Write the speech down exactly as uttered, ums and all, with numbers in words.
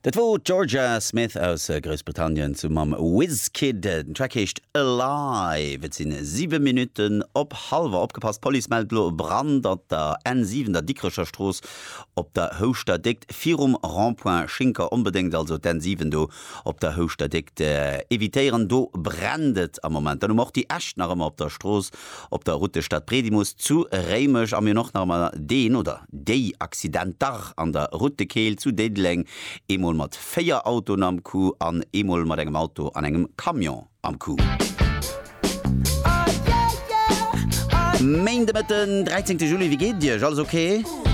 Dat wor d'Jorja Smith aus Groussbritannien zesumme mam Wizkid. Den Track heescht Alive. Et sinn siwe Minutten op hallwer. Opgepasst, D'Police mellt elo e Brand an der N siwen, der Dikrecher Strooss op der Houschter Déckt virum Rond-point Schinker. Onbedéngt also d'N siwen do op der Houschter Déckt evitéieren, do brennt et am Moment. Dann hu mer och déi Äscht nach ëmmer op der Strooss op der Route Stadbredimus zu Réimech a mir hunn och nach ëmmer deen oder déi Accidenter an der Route de Keel zu Diddeleng, eemol mat véier Autoen am Coup an eemol mat engem Auto an engem Camion am Coup. Méindemëtten, dräizéngte Juli, wéi geet et Iech? Alles ok?